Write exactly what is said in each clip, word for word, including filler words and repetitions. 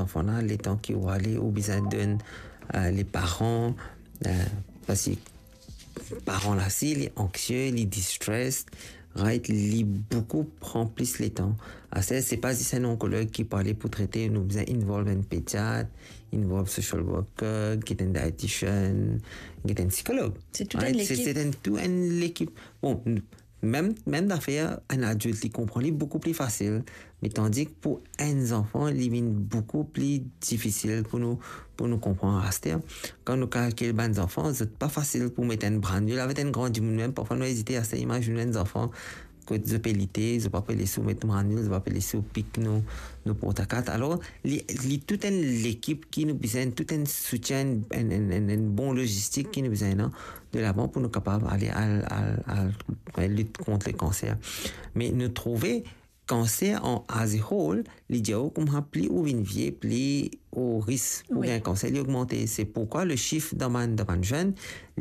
Fana, letan ki ou ale, ou bizin donn, eh, le paran, eh, parski paran la si li anksie, li distressed, right? Li boukou pran plis letan. Aster, se pa zis enn onkolog ki pou ale pou trete, nou bizin involve enn pediat, involve social worker, get enn dietitian, get enn sikolog. Se tou enn lekip. Se, se enn, tou enn lekip. Bon, mem, mem zafer, enn adilt, li konpran li boukou pli fasil, me tandis ki pou enn zanfan, li vinn boukou pli difisil pou nou, pou nou konpran aster. Kan nou kalkil bann zanfan, zot pa fasil pou met enn branil avek enn gran dimoun, mem parfwa nou ezite aster, imazinn enn zanfan, kot zot pe lite, zot pa pe les ou met branil, zot pa pe les ou pik nou, nou portakat. Alor, li, li tou enn lekip ki nou bizin, tou enn soutien, enn, enn, enn, enn bon lozistik ki nou bizin, non? De lavan pou nou kapav ale al, al, al, al lit kont le kanser. Me nou trouve kanser an as a whole, li dir ou kouma pli ou vinn vie, pli ou risk pou gagn kanser, li ogmante. Se poukwa le sif dan bann, dan bann zenn,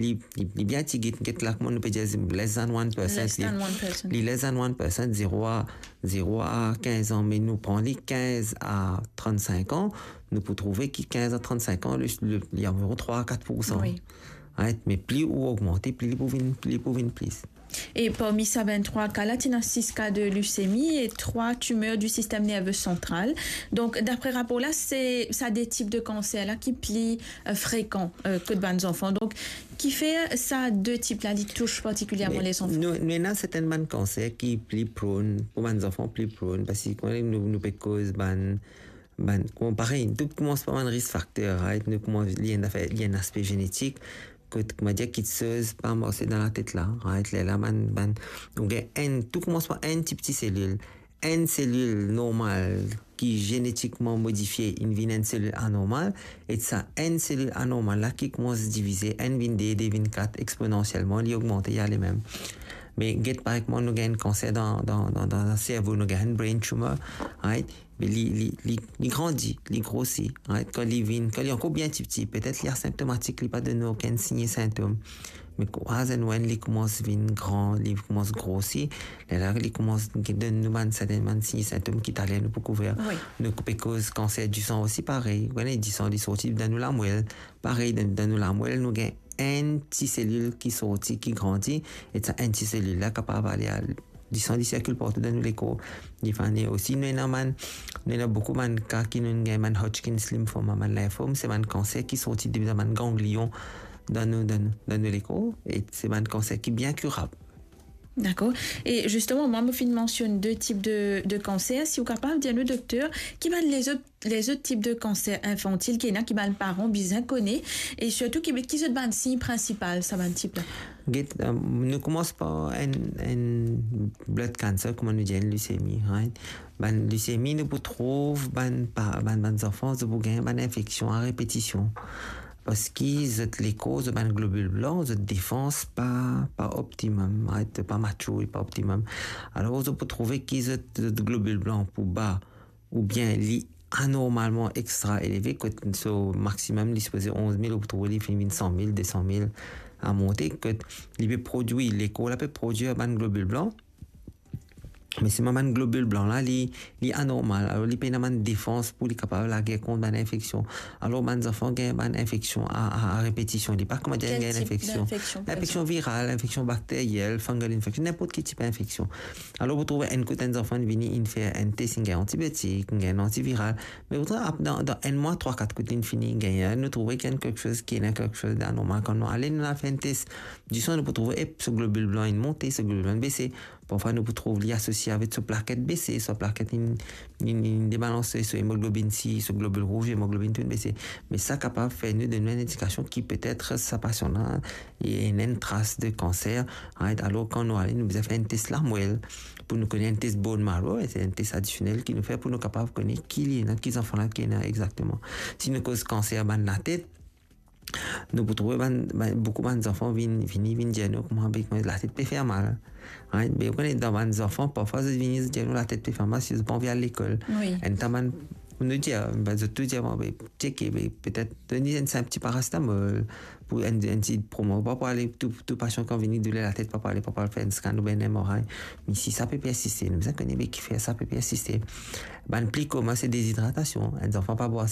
li, li, li bien ti, get, get la, kouma nou pe dir, less than one percent. Less than one percent. Li less than one percent, zero a, zero a kinz an, me nou pran li kinz a trannsenk an, nou pou trouve ki kinz a trannsenk an, le, le, li anviron trwa a kat poursan. Wi. Right? Me pli ou ogmante, pli li pou vinn, pli li pou vinn plis. E parmi sa venntrwa ka la, ti ena sis ka de lisemi e trwa timer di sistem nerve santral. Donk, dapre rapor la, se sa de tip de kanser la ki pli, eh, frekan, eh, kot bann zanfan. Donk, kifer sa de tip la, li tous partikilierman lezanfan? Nou, nou ena sertin bann kanser ki pli prone, pou bann zanfan pli prone, parski kan nou, nou pe koz bann, bann, kouma parey, tou koumans par bann risk factor, right? Nou koumans, li ena zafer, li ena aspe zenetik, kot, kouma dir, kiksoz pa marse dan latet la, right? Lerla bann, bann, nou gagn enn, tou koumans par enn ti, ti selil. Enn selil normal ki zenetikman modifie, inn vinn enn selil anormal, e sa enn selil anormal la ki koumans divize, enn vinn de, de vinn kat, exponentiellement, li ogmante, li ale mem. Me get, par exanp, nou gagn kanser dan, dan, dan, dan, dan servo, nou gagn brain tumor, right? Me li, li, li, li grandi, li grosi, right? Kan li vinn, kan li ankor bien tipti, petet li asimptomatik, li pa donn okenn sign e sintom. Me as and when li koumans vinn gran, li koumans grosi, lerla li koumans donn nou bann sertin bann sign e sintom ki taler nou pou kouver. Wi. Nou pe koz kanser disan osi parey. Ou kone, disan li sorti dan nou lamwel. Parey, dan, dan nou lamwel, nou gagn enn ti selil ki sorti, ki grandi, e sa enn ti selil la kapav ale al disan, li sirkil partou dan nou lekor. Li fane osi, nou ena bann, nou ena boukou bann ka ki nou gagn bann Hodgkin's lymphoma, bann linfom, se bann kanser ki sorti depi dan bann ganglion dan nou, dan nou, dan nou lekor, e se bann kanser ki bien kirab. Dakor. E zisteman, mwa, mo finn mansionn de tip de, de kanser. Si ou kapav dir nou, dokter, ki bann lezot, lezot tip de kanser infantil ki ena, ki bann paran bizin kone, e sirtou ki, ki zot bann sign prinsipal, sa bann tip la? Get, eh, nou koumans par enn, enn blood cancer, kouma nou dir, enn lisemi, right? Bann lisemi, nou pou trouv bann pa-, bann, bann zanfan, zot pou gagn bann infeksion a repetision. Parski zot lekor, zot bann globil blan, zot defans pa, pa optimum, right? Pa mature, pa optimum. Alor, zot pou trouve ki zot, zot globil blan pou ba, oubien li anormalman extra eleve, kot so maximum li sipoze onz mil, ou pou trouve li finn vinn san mil, de san mil a monte, kot li pe prodwir, lekor la pe prodwir bann globil blan, me selman bann globil blan la, li, li anormal, alor li pena bann defans pou li kapav lager kont bann infeksion. Alor bann zanfan gagn bann infeksion a, a, a repetision. Li pa kouma dir gagn infeksion. Kel tip infeksion, par exanp? Infeksion viral, infeksion bakteriel, fungal infection, ninport ki tip infeksion. Alor, pou trouve enn kout enn zanfan vini, inn fer enn tes, inn gagn antibiotik, inn gagn antiviral. Me ou trouv ap-, dan, dan enn mwa, trwa, kat kout inn fini, inn gagn, nou trouve ki ena kiksoz ki ena kiksoz d'anormal. Kan nou ale, nou al fer enn tes disan, nou pou trouve, ep, so globil blan inn monte, so globil blan inn bese. Parfwa, nou pou trouv li asosie avek so plaket bese, so plaket inn, inn, inn debalanse, so emoglobin C, so globil rouz, emoglobin tou inn bese. Me sa kapav fer nou donn nou enn indikasion ki petet sa pasian la, ena enn tras de kanser, right? Alor, kan nou ale, nou bizin fer enn tes lamwel, pou nou kone, enn tes bone marrow, e se enn tes adisionel ki nou fer pou nou kapav kone ki li ena, ki zanfan la ki ena exakteman. Si nou koz kanser bann latet, nou pou trouve bann, bann, boukou bann zanfan vinn, vini, vinn dir nou kouma, be, mo latet pe fer mal. Right? Be, ou kone, dan bann zanfan, parfwa, zot vini, zot dir nou latet pe fer mal, si zot pa anvi al lekol. Wi. Enn ta bann, nou dir, be, zot tou dir, bon, be, tcheke, be, petet, donn li enn sinp ti parasitamol, pou enn, enn ti promo, pa pou ale, tou, tou pasian kan vini douler latet, pa pou ale, pa pou al fer enn scan oubien enn M R I. Me si sa pe persiste, nou bizin kone, be, kifer sa pe persiste. Bann pli komin, se dezidratasion. Enn zanfan pa bwar ase